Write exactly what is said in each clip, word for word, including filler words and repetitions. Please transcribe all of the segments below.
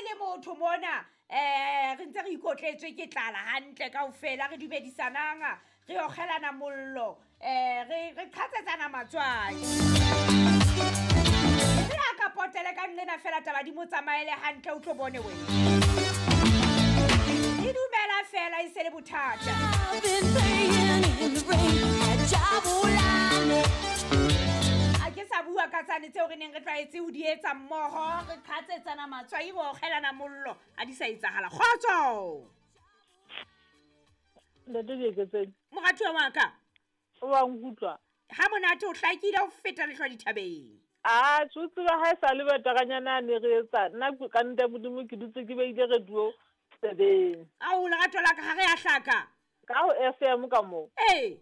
le motho mona um re ntse re ikotletswe ke tlala hantle kaofela re dumedisanang re okgelana mollo um re re qhatsetsana matswai re a ka potele ka nlena fela taba di mo tsamaele hantle o tlo bone wena e dumela fela e se le bothata. I've been playing in the rain at Jabulani. A ke sa bua ka tsane tseo re neng re tlwaetse ho di etsa mmoho re qhatsetsana matswai re okgelana mollo ha di sa etsahala. Kgotso Ntate Dieketseng. Moratuwa wa ka. O wa nkutlwa? Ha monate o hlakile ho feta lehlwa dithabeng. Ah, tso tseba ha e sa le batakanyana ne re etsa nna ka ntate Modimo ke dutse ke beile radio tsebeng. Ao lerato la ka ha re a hlaka. Ka ho F M ka moo. Ee.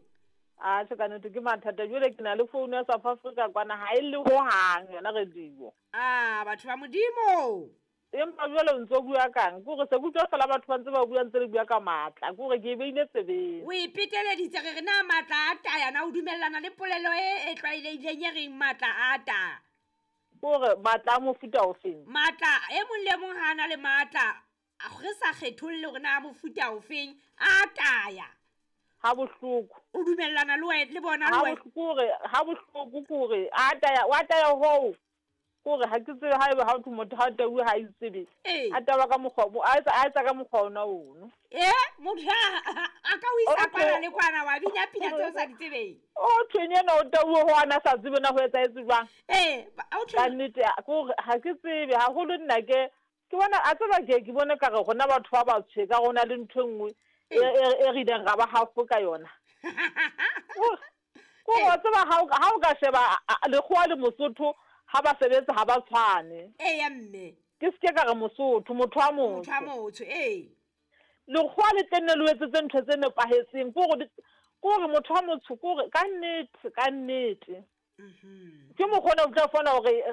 Ah, tjhe ka nnete ke mathata jwale ke na le phone ya South Africa kwana ha e le hohang yona radio. Ah, batho ba Modimo. Empa jwale o ntso bua kang? Ke hore se ke utlwa fela batho ba ntse ba bua ntse le bua ka matla. Ke hore ke e beile tsebeng. O ipeteleditse re re na matla a taya na o dumellana le polelo e e tlwaelehileng e reng matla a taya. Ke hore matla a mofuta ofeng? Matla e mong le mong ha a na le matla re sa kgetholle hore na mofuta ofeng a taya. Ha bohloko. O dumellana le wena le bona le Ha wena. bohloko hore ha bohloko ke hore a taya wa taya hoo. Hore ha ke tsebe haeba ha o motho ha tauwe ha itsebe. Ee. A taba ka mokgwa o a etsa a etsa ka mokgwa ona ono. Eh, motho a a ka o isa Okay. kwana le kwana wa bina pina tseo sa di tsebeng. O thweng ena o tauwe ho ana sa tsebe na ho etsahetse jwang. Eh, ba- o Ka thweng nnete ke hore ha ke tsebe haholo nna ke ke bona a tseba ke ke bone ka re rona batho ba batsho ka rona le ntho e nngwe e Ee. e e re ileng ra ba half ka yona. Ko wa tseba ha o ha o ka sheba lekgowa le Mosotho ha ba sebetsa ha ba tshwane. Eya mme. Ke se ke ka re Mosotho motho wa Motho wa motho. motho, ee. Lekgowa le tenne le etsetse ntho tse nepahetseng ke hore ke hore motho wa motho ke hore ka nnete ka nnete. Mhm. Ke mokgwa ona o tla fumana hore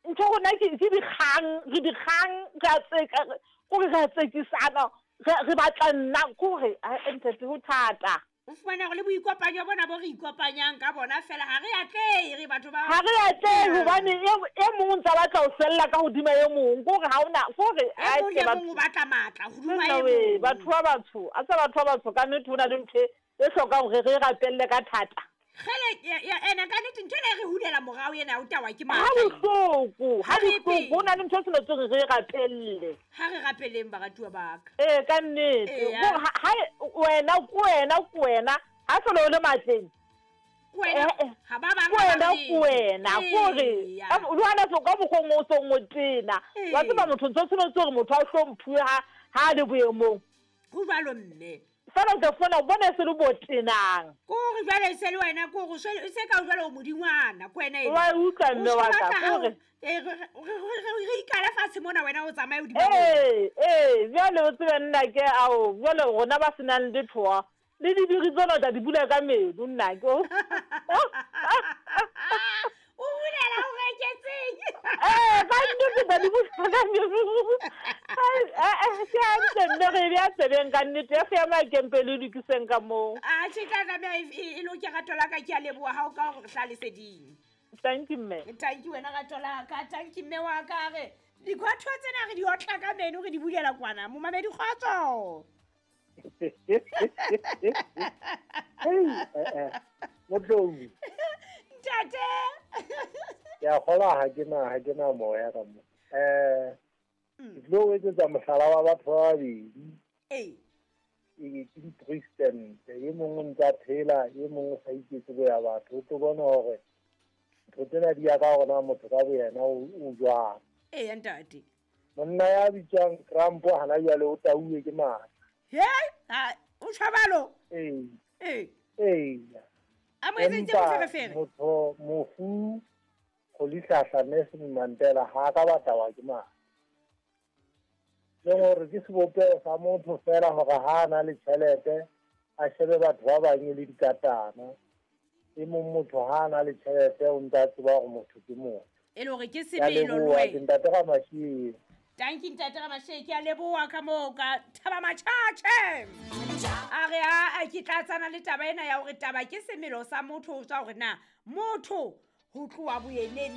ntho rona ke ke dikgang re dikgang re a tseka kore re a tsekisana re re batla nna ke hore ntate ho thata. O fumana hore le boikopanyo bona bo re ikopanyang ka bona fela ha re atlehe re batho ba Ha re atlehe hobane e e mong o ntsa batla ho fella ka hodima e mong ke hore ha ona ke hore E mong le mong o batla matla hodima e we mong. batho ba batsho a tsa batho ba batsho ka nnete ho na le ntho e hlokang hore re rapelle ka thata. Kgele ena ka nnete ntho ena e re hulela morao ena o tawa ke Ha matla. bohloko ha Ha re bohloko ho na le ntho e tshwanetse hore re rapelle. Ha re rapeleng baratuwa ba ka. Ee ka nnete Eya. hore ha ha wena ke wena ke wena ha hlola o le matleng. Ke wena Eh, eh. ha ba bang Ke ha ba wena re ke wena ke hore Eya. ka le hona so ka mokgwa o o song o tena. Wa tseba Ee. motho ntho tshwanetse hore motho a hlomphuwe ha ha le boemong. Ho jwalo mme. Fela o tla fumana o bona e se le bo tenang. Ke hore jwale e se le wena ke hore o se se ka o jwale o modingwana ke wena ena. Wa e utlwa mme wa ka O ke hore re re ikale fatshe mona wena o tsamaye hodima moo. Ee, ee, jwale o tsebe nna ke ao jwale rona ba senang letho le dibiri tsena o tla di bula ka meno nna ke. O bulela o reketseng. Ee, ka nnete tla di bula ka meno. Ai, eh, ke hantle mme re e beha tsebeng ka nnete ya fea kempe le lokiseng ka moo. Ah, tjhe, e tla tlameha e e loke rato la ka ke a leboha ha o ka hore re hlaleseding. Thank you mme. Thank you wena rato la ka, thank you mme wa ka re dikhwathwa tsena re di otla ka meno re di bulela kwana. Momamedi kgotso. Hey, eh, eh. Motlou. Ntate. Ke a kgolwa ha ke na ha ke na moya ka mo. Eh, ke tlo o etsetsa mohlala wa batho ba babedi. Ee. Ke ke di-president. E mong o ntse a phela, e mong o sa iketse boya batho. O tlo bona hore ntho tsena di ya ka hore na motho ka boyena o o jwang. Eya ntate. Monna ya bitswang Trump hana jwale o tauwe ke matla. He, ha o tjhabalo. Ee. Ee. Ee. A mo etseditse Empa moferefere. motho mofu Rolihlahla Nelson Mandela ha ka ba tawa ke matla. Le hore ke sebopeho sa motho fela hore ha a na le tjhelete a shebe batho ba bang e le dikatana. E mong motho ha a na le tjhelete o ntse a tseba hore motho ke motho. E le hore ke Ke a semelo le leboha, wena. ke ntate Ramashie. Thank you ntate Ramashie, ke a leboha ka moo ka thaba matjhatjhe. A re a ke tlatsana le taba ena ya hore taba ke semelo sa motho ho tswa hore na motho ho tloha boyeneng